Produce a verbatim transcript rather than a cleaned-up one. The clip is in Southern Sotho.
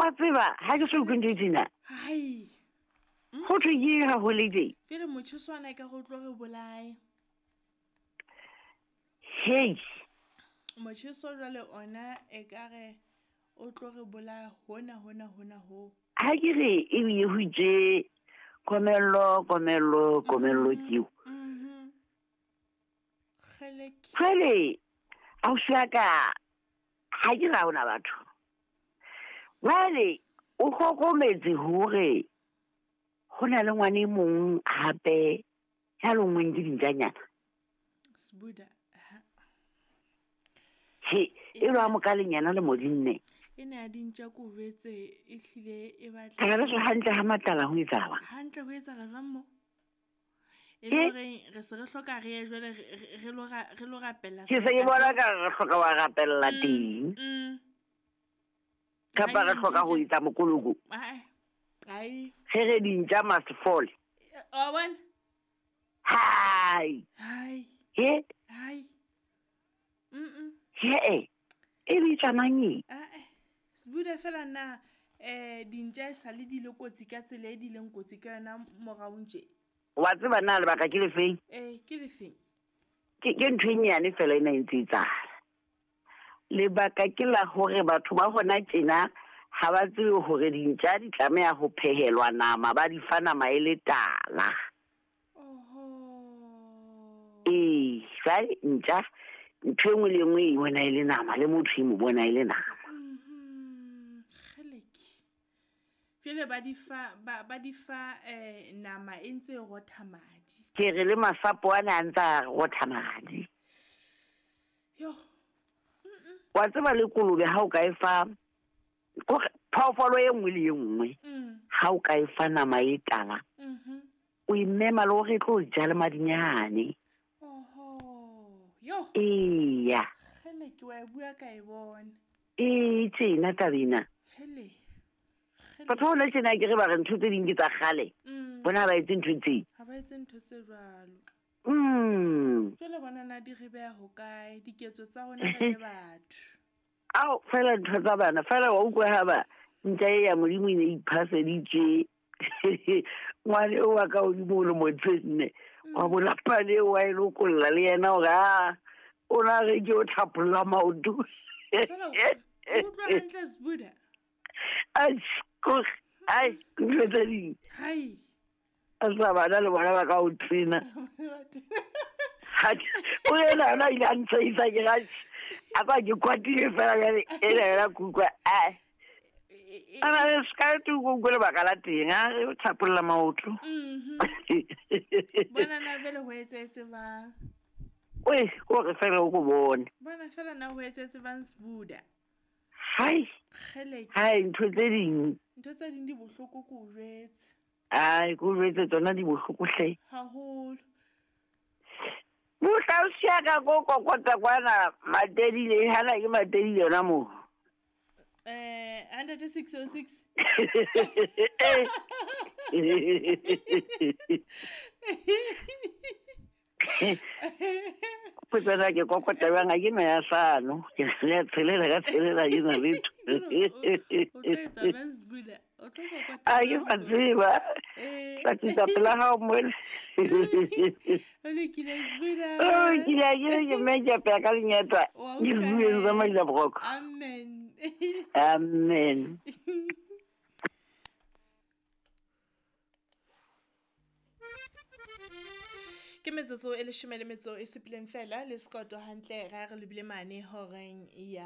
Wa tseba ha ke so utlwe ntho e tjena. Hai. Ho thwe ke eng ha ho le tje? Fele motjheso ona e ka re o tlo re bolaya. Hei. Motjheso jwale ona e ka re o tlo re bolaya hona hona hona ho. Ha ke re ebile ho itse komello, komello, komello ke eo. Mhm. Kgeleke. Jwale ausi wa ka ha ke re ha hona batho. Jwale o hlokometse hore ho na le ngwana e mong hape ya lonngweng ke dintjanyana. Sbuda. Ha. He, e lo a mokalenyana le modinne. E ne ya dintja ko jwetse e hlile e batla. Ka re hantle ha matala ho etsahala. Hantle ho etsahala jwang mo? E le hore re se re hloka re ye jwale re lo re lo rapella. Ke se ke bona ka re hloka wa rapella teng. Mm. Kapa re hloka ho etsa mokoloko. Ai. Ai. Re re dintja must fall. Wa bona? Hai. Hai. He? Hai. Mm. He. E bitsa mang e? Ah eh. Sbuda fela na eh dintja e sale di le kotsi ka tsela e di leng kotsi ka yona moraong tje. Wa tseba na lebaka ke lefeng? Eh, ke lefeng? Ke ke ntho e nyane fela ena e ntse e etsahala. Lebaka ke la hore batho ba hona tjena ha ba tsebe hore dintja di tlameha ho phehelwa nama, ba di fa nama e le tala. Oho. Ee, jwale ntja ntho e nngwe le e nngwe e bona e le nama, le motho e mo bona e le nama. Mhm. Kgeleke. Jwale ba di fa ba ba di fa eh nama e ntse e rotha madi. Ke re le masapo ana a ntse a rotha madi. Yo. Wa tseba le kolobe ha o ka e fa kore phoofolo e nngwe le e nngwe ha o ka e fa nama e tala. Mhm. O e mema le hore e tlo ja le madinyane. Oho. Yo. Eya. Kgeleke wa e bua ka e bona. Ee, tjena taba ena. Kgele. Batho ba hona tjena ke re ba re ntho tse ding ke tsa kgale. Bona ha ba etse ntho tse. Ha ba etse ntho tse jwalo. Mm. Jwale bona na di re beha hokae diketso tsa rona re le batho. Ao fela ntho tsa bana fela wa utlwa ha ba ntja e ya Modimo e ne e iphaseditse. Ngwane o wa ka hodimo o le motse nne. Wa bona pale wa e lokolla le yena hore a o na re ke o thapolla maoto. Fela o utlwa hantle Sbuda. Ai, kore, ai, ntho tse ding. Hai. A sa bana le bona ba ka o tsena. O yena ana ile a ntshehisa ke ra a ba ke kwatile fela jwale ena yona ke utlwa ai. Ana le ska tu go go lebaka la teng a re o thapolla maoto. Mhm. Bona na vele ho etsetse bang. Oi, ko re fela o go bone. Bona fela na ho etsetse bang Sbuda. Hai. Kgeleke. Hai, ntho tse ding. Ntho tse ding di bohloko ko jwetse. Ai, ko jwetse tsona di bohloko hle. Haholo. Mohla o siya ka ko kokota kwana Matedile, hana ke Matedile yona moo. Eh, hundred six oh six. Potsa ke kokota bang ha ke na ya sano. Ke le tshelela ka tshelela ke na letho. O tlo etsa bang Sbuda? O tlo kokota. A ke ba tseba. Tla tlisa pela hao mole. O lokile Sbuda. O lokile ke ke mme ke apea ka lenyatwa. Ke bue tsa maila broko. Amen. Amen. Ke metsotso e leshome le metso e supileng fela le sekoto hantle ra re lebile mane horeng ya